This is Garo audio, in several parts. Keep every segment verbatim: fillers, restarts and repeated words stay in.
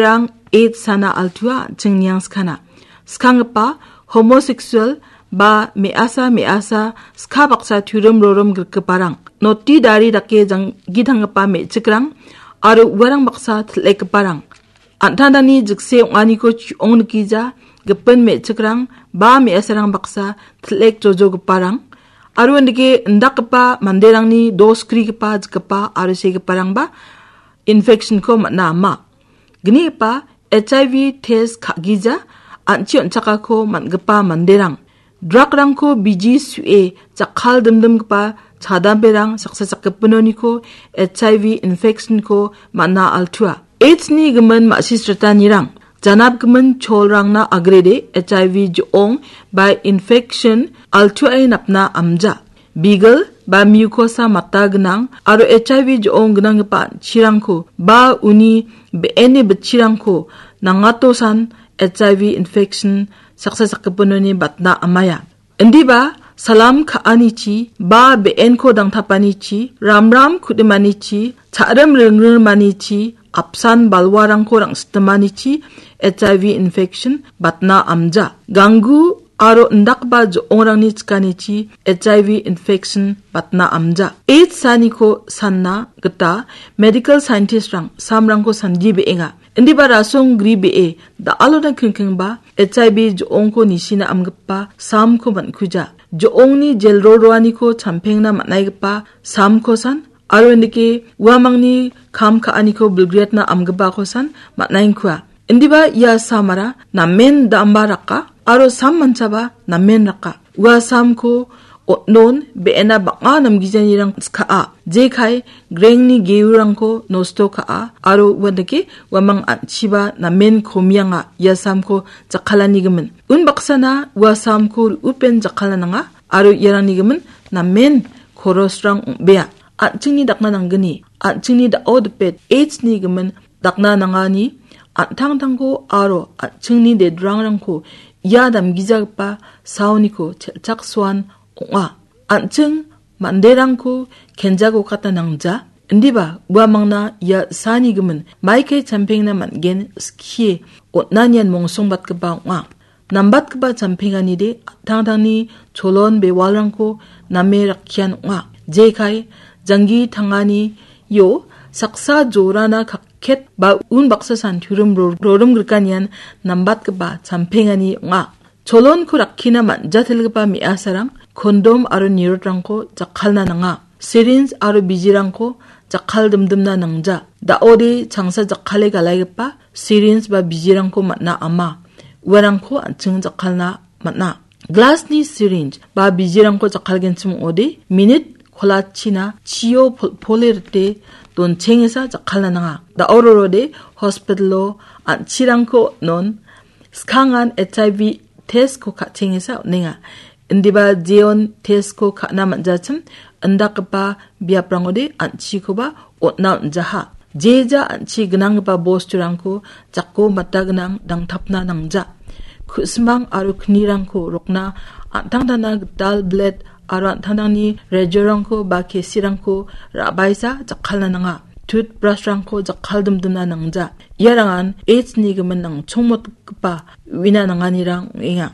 Rang AIDS sana altua an·ching niangskana. Skanggipa homosexual ba me·asa me·asa ska baksa turim rorim grikgiparang, noti dari dake janggi tanggipa me·chikrang aro uarang baksa til·ekgiparang. An·tangtangni jikse ong·aniko chu·ong nikija, gipin me·chikrang ba me·asarang baksa til·ek jojogiparang, aro indike indakgipa manderangni dos grigipa jikgipa aro segiparangba infection-ko man·a ama. Gnigipa H I V test ka·gija an·chi on·chakako man·gipa manderang, drug-rangko biji su·e jakkal dimdimgipa chadamberang saksa sakgipinoniko H I V infection-ko man·a altua. AIDS-ni gimin ma·sisritanirang janapgimin cholrangna agrede H I V jo·ong ba infection altuae napna amja. Bigil ba mucosa mata gnang aro H I V jo·ong gnanggipa an·chirangko ba uni be·eni bitchirangko nangatosan H I V infection saksa sakgipinoni batna amaia. Indiba salam ka·anichi ba be·enko dangtapanichi, ramram kudimanichi, cha·rim ringrimanichi, apsan balwarangko rang·sitimanichi H I V infection batna amja. Ganggu aro indakgipa jo·ongrangni chikanichi H I V infection batna amja. AIDS saniko sanna gita medical scientist-rang samrangko sandi be·enga. Indiba rasong gri be·e da·alona kingkingba H I V jo·ongko nisina amgipa samko man·kuja. Jo·ongni jelroroaniko champengna man·aigipa samko san aro indike uamangni kam ka·aniko bilgriatna amgipako san man·aengkua. Indiba ia samara namen damba raka aro sam manchaba namen raka. Ua samko on·on be·ena bang·a namgijanirang ska·a. Jekai grengni geurangko nosto ka·a aro uandake uamang an·chiba namen komianga ia samko jakkalanigimin. Unbaksana ua samko ru·upen jakkala nanga aro iarangnigimin namen korosrang ong·bea. An·chingni dakna nanggni, an·chingni da·o dipet AIDS-ni gimin dakna nangani an·tangtangko aro an·chingni dedrangrangko ia damgijagipa saoniko chelchaksoan ong·a. An·ching manderangko kenjagokatna nangja. Indiba uamangna ia sani gimin maikai champengna man·gen skie on·anian mongsongbatgipa ong·a. Nambatgipa champenganide an·tangtangni cholon bewalrangko name rakkian ong·a. Jekai janggi tanganio saksa jorana kakket ba unbaksa santurim ro-, rorim grikanian nambatgipa champengani ong·a. Cholonko rakkina man·jatelgipa me·asarang kondom aro nirotrangko jakkalna nanga. Sirinj aro bijirangko jakkal dimdimna nangja. Da·ode changsa jakkale galaigipa sirinj ba bijirangko man·a ama. Uarangko an·ching jakkalna man·a. Glasni sirinj ba bijirangko jakkalgenchim ong·ode minit kolachina chio pol-, pole rite donchengesa jakkalna nanga. Da·o rorode hospitalo an·chirangko non skangan H I V testko ka·chengesa on·enga. Indiba jeon testko ka·na man·jachim indakgipa biaprangode an·chikoba on·na on·jaha. Jeja an·chi gnanggipa bosturangko jako mata gnang dangtapna nangja. Ku·simang aro knirangko rokna an·tangtangna gital blet aro an·tangtangni rejorangko ba kesirangko ra·baisa jakkalna nanga. Toothbrush-rangko jakkal dimdimna nangja. Iarangan AIDS-ni gimin nangchongmotgipa uina nanganirang ong·enga.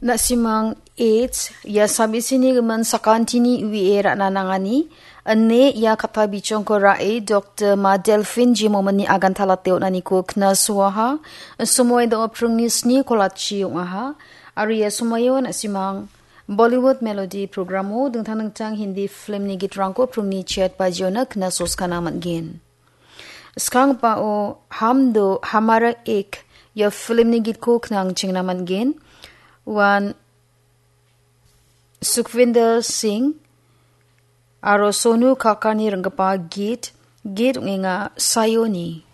Na·simang AIDS, ia sabisini gimin sakantini U A ra·na nangani, ine ia kata bichongko ra·e Doktor Ma Delphine Jimomani agantalate on·aniko knasoaha, somoe do·o pringni sni kolachi ong·aha, aro ia somoio na·simang Bollywood Melody programo dingtang dingtang Hindi filmni gitrangko pringni chet bajiona knasoskana man·gen. Skangbao Ham Do Hamara Ek ia filmni gitko knang chingna man·gen. Uan Sukhvinder Singh aro Sonu Kakarni ringgipa git, git ong·enga Sayoni.